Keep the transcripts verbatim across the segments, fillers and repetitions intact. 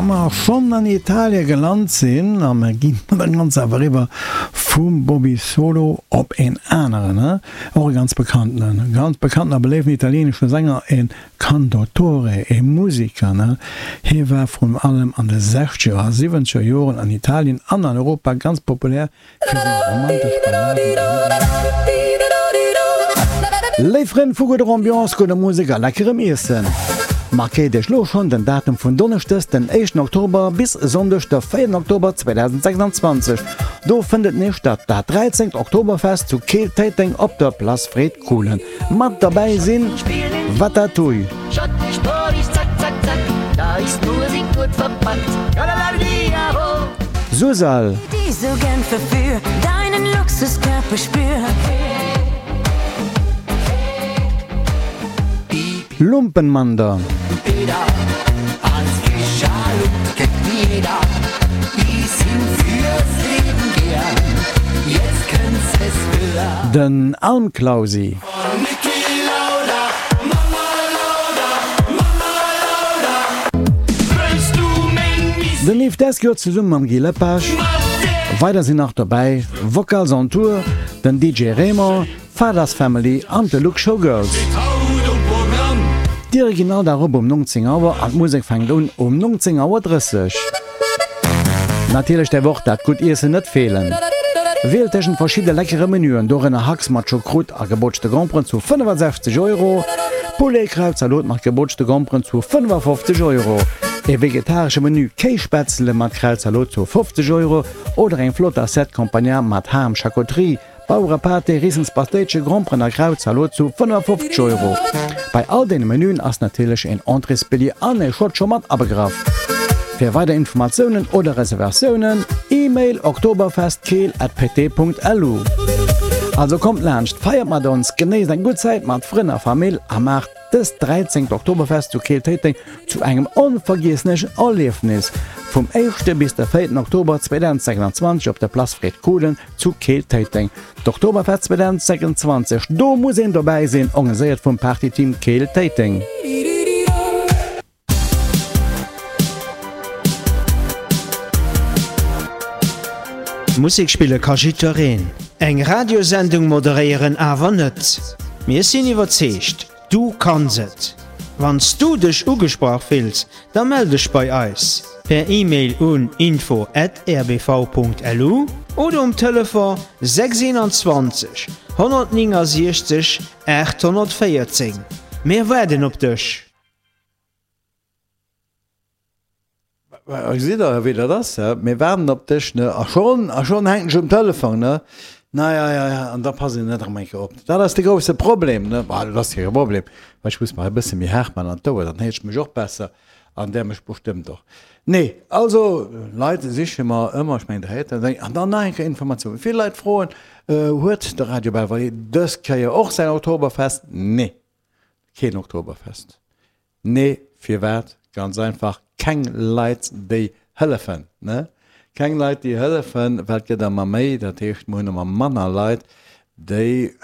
Wa mer schonn an Italie gelant sinn, a mer ginn dann ganz awer eriwwer vum Bobby Solo op een aneren, och e ganz bekannten, ganz bekannten a beléiften italienesche Sänger, e Cantautore, e Musiker. Hie war vrun allem an de sechzeger a siwwenzeger Joren an Italien an an Europa ganz populär fir seng romantesch Balladen a Lidder. Léif Frënn vu gudder Ambiance, gudder Musek a leckerem Iessen, markéiert iech lo schonn den Datum vun Donneschdes den éischten Oktober bis Sonndeg de véierten Oktober zweedausendsechsanzwanzeg. Do fënnt et nees statt, dat dräizéngt Oktoberfest zu Keel-Téiteng op der Place Fred Kohlen. Mat derbäi sinn Watatouille. Susal. Lumpenmander. Den Almklausi. Den Yves Descours zesumme mam Guy Lepage. Weider sinn nach dobäi Vocals on Tour, den D J Raymond, Fathers Family an de Look Showgirls. D'Diere ginn all Dag op um nongzéng Auer an d'Musek fänkt un um nongzéng Auer drësseg. Natierlech däerf och dat gutt Iessen net feelen. Wielt tëschent verschidde leckere Menüen, dorënner Hax mat Choucroute a gebootschte Gromperen zu fënnefasechzeg Euro, Poulet-Krautzalot mat gebootschte Gromperen zu fënnefafofzeg Euro, e vegetaresche Menü Kéisspätzle mat Krautzalot zu fofzeg Euro oder eng flott Assiette Campagnard mat Ham, Charcuterie, Bauerepaté, Rissenspatéitche, Gromperen a Krautzalot zu fënnefafofzeg Euro. Bei all deene Menüen ass natierlech een Entréesbilljee an e Shot scho mat abegraff. Fir weider Informatiounen oder Reservatiounen, E-Mail oktoberfestkeel at pt.lu. Also kommt laanscht, feiert mat ons, genéisst eng gutt Zäit mat Frënn a Famill a maacht dëst dräizéngt Oktoberfest zu Keel-Téiteng zu engem onvergiesslechen Erliefnis. Vum éischte bis de véierten Oktober zweedausendsechsanzwanzeg op der Place Fred Kohlen zu Keel-Téiteng. D'Oktoberfest zweedausendsechsanzwanzeg, do muss een dobäi sinn, organiséiert vum Partyteam Keel-Téiteng. Musek spille ka jiddwereen, eng Radiosendung moderéieren awer net. Mir sinn iwwerzeegt, du kanns et! Wann s du dech ugesprach fills, da mell dech bei eis per E-Mail un info at R B V Punkt L U oder um Telefon sechs einundzwanzeg honnertnéngasiechzeg aathonnertvéierzéng. Mir waarden op dech! Gesitt Der, wéi dat ass, hä? Mir waarden op dech, ne? A schonn, a schonn hänken ech um Telefon, ne? Na ja, ja, ja, an da pass een net erëm eng Kéier op. Dat ass de grousse Problem, ne? Bah, dat ass kee Problem, mä ech muss mer e bësse méi haart man an d'Ouer, dann héiert ech mech och besser an där mech bestëmmt och. Nee, also, Leit siche mer ëmmer, ech mengen, der héiert dat. An dann nach eng Kéier Informatioun, Vill Leit froen, Huet de Radio Belval dës Kéier och säin Oktoberfest? Nee, keen Oktoberfest. Nee, firwat? Ganz einfach, keng Leit déi hëllefen, ne? Keng Leit déi hëllefen, well et gëtt ëmmer méi, dat heescht mer hunn ëmmer manner Leit déi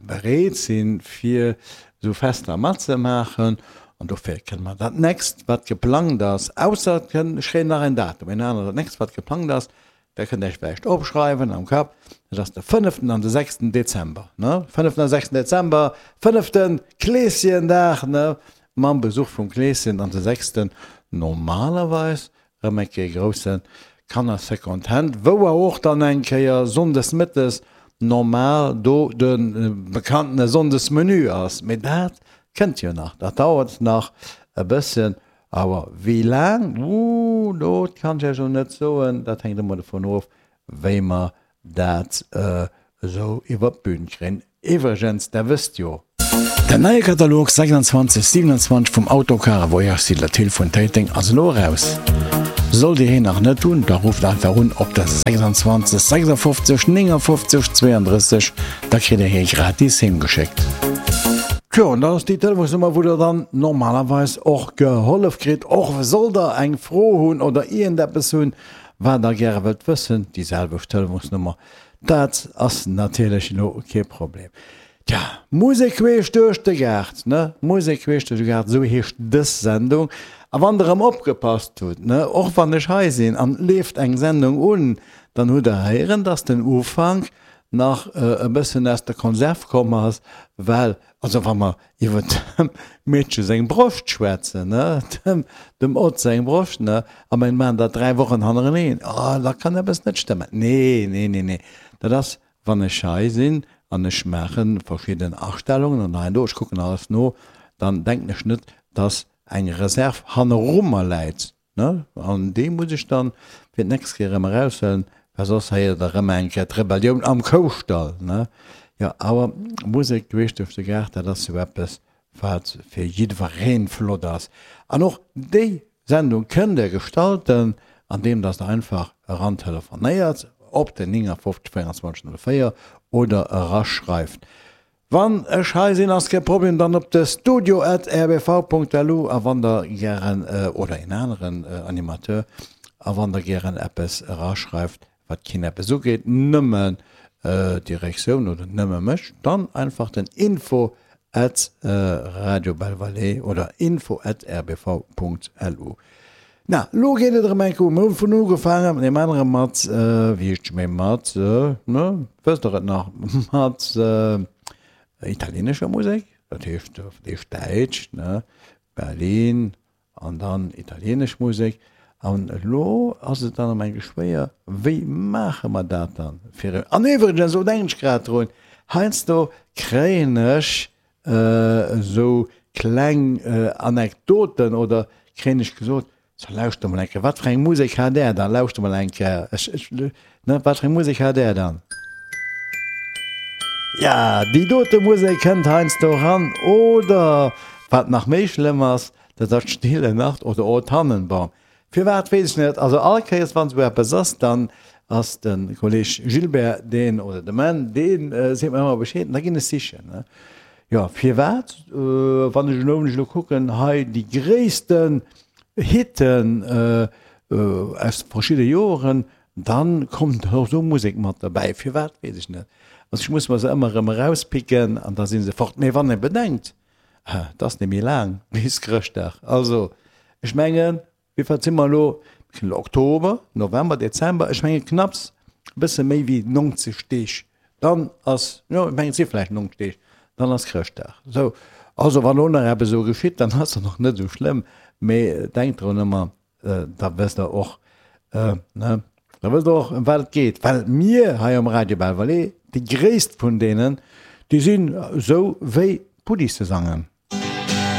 bereet sinn fir esou Fester matzemaachen. An dofir kënne mer dat nächst wat geplangt ass, ausser et kënn, ech kréien nach en Datum, en anert, dat nächst wat geplangt ass, Dat kënnt Iech vläicht opschreiwen am Kapp, dat ass de fënneften an de sechsten Dezember, ne? Fënneften a sechsten Dezember, fënneften Kleeschendag, ne? Mam Besuch vum Kleeschen an de sechsten normalerweis erëm eng Kéier grousse Kanner-Second-Hand, wou awer och dann eng Kéier sonndes mëttes normal do de bekannte Sonndesmenü ass. Mee dat kënnt jo nach, dat dauert nach e bësschen. Awer wéi laang, ooh, dat kann ech Iech elo net soen. Dat hänkt ëmmer dovun of, wéi mer dat esou iwwer d'Bün kréien. Iwwregens, Der wësst jo. Den neie Katalog sechsundzwanzeg siewenundzwanzeg vum Autocar a Voyage Style Thill vun Téiteng ass elo eraus. Sollt Dir heen nach net hunn, da rufft einfach un op der sechsundzwanzeg sechsundfofzeg néngundfofzeg zweiunddrësseg, da kritt Dir hee gratis heem geschéckt. Tjo, an dat ass déi Telefonsnummer, wou Der dann normalerweis och gehollef kritt, och sollt Der eng Fro hunn oder iergendeppes hunn, wat Der gäre wëllt wëssen, déi selwecht Telefonsnummer, dat ass natierlech elo kee Problem. Tja, Musek queesch duerch de Gaart, ne? Musek queesch duerch de Gaart, esou heescht dës Sendung. A wann der erëm opgepasst hutt, ne, och wann ech hei sinn an et leeft eng Sendung un, dann hutt der héieren, dass den Ufank nach e bëssen aus der Konserv komm ass, well, also wa mer iwwer dem Meedche seng Broscht schwätzen, ne, dem, dem Ott seng Broscht, ne, a mir maachen dat dräi Wochen hannereneen, oh, da kann eppes net stëmmen. Nee, nee, nee, nee, dat ass, wann ech hei sinn an ech maache verschidden Astellungen an hei an do, ech kucken alles no, dann denken ech net, dass eng Reserv hanneru mer läit, ne, an déi muss ech dann fir d'nächst Kéier erëm eraushuelen, well soss héiert Der erëm eng Kéier d'Rebellioun am Koustall, ne. Jo, awer Musek queesch duerch de Gaart, dat ass jo eppes, wat fir jiddweree flott ass. An och déi Sendung kënnt Der gestalten, andeem dass Der einfach erantelefonéiert op den neunundfünfzig vierundzwanzig null vier oder eraschreift. Wann ech hei sinn ass kee Problem, dann op de studio at rbv punkt lu a wann der gären, oder een aneren Animateur, a wann der gären eppes eraschreift wat keen eppes ugeet, nëmmen d'Direktioun oder nëmme mech, dann einfach den info at radio belle-vallée oder info at rbv punkt lu. Na, lo geet et erëm eng Kéier u. Mir hu vun ugefaangen mat deem anere mat, wéi heescht méi, mat, ne, wësst der et nach, mat italienescher Musek, dat heescht, dat heescht Däitsch, ne, Berlin an dann italienesch Musek. An elo ass et dann erëm eng Kéier schwéier, wéi maache mer dat dann fir, an iwwregens, elo denken ech grad drun, heiansdo kréien ech esou kleng Anekdoten oder kréien ech gesot, So, lauschter mol eng Kéier, wat fir eng Musek hat där dann? Lauschter mol eng Kéier, ech, ech, ne, wat fir eng Musek hat där dann? Ja, déi dote Musek kënnt heiansdo eran. Oder, wat nach méi schlëmm ass, dat ass Stille Nacht oder O Tannenbaum. Firwat, weess ech net. Also all Kéiers, wann esou eppes ass, dann ass de Kolleg Gilbert deen, oder de Menn, dee seet mer ëmmer Bescheed an da ginn ech sichen, ne. Jo, firwat? Wann ech elo, wann ech elo kucken, hei déi gréissten Hitten aus verschidde Joren, dann kommt och esou Musek mat derbäi. Firwat, weess ech net. Also ech muss mer se ëmmer erëm erauspicken an da si se fort. Mee wann ee bedenkt, et ass net méi laang bis Chrëschtdag. Also ech mengen, wéi wat si mer elo? Mir sinn elo Oktober, November, Dezember, ech menge knapps e bësse méi wéi neunzeg Deeg, dann ass, jo ech mengen et si vläicht neunzeg Deeg, dann ass Chrëschtdag. Sou, also wann elo nach eppes esou geschitt, dann ass dat och net esou schlëmm, mee denkt drun ëmmer, da wësst der och, ne, da wësst der och ëm wat et geet, well mir hei um Radio Belval, déi gréisst vun deenen, déi sinn esou wéi Puddisesangen.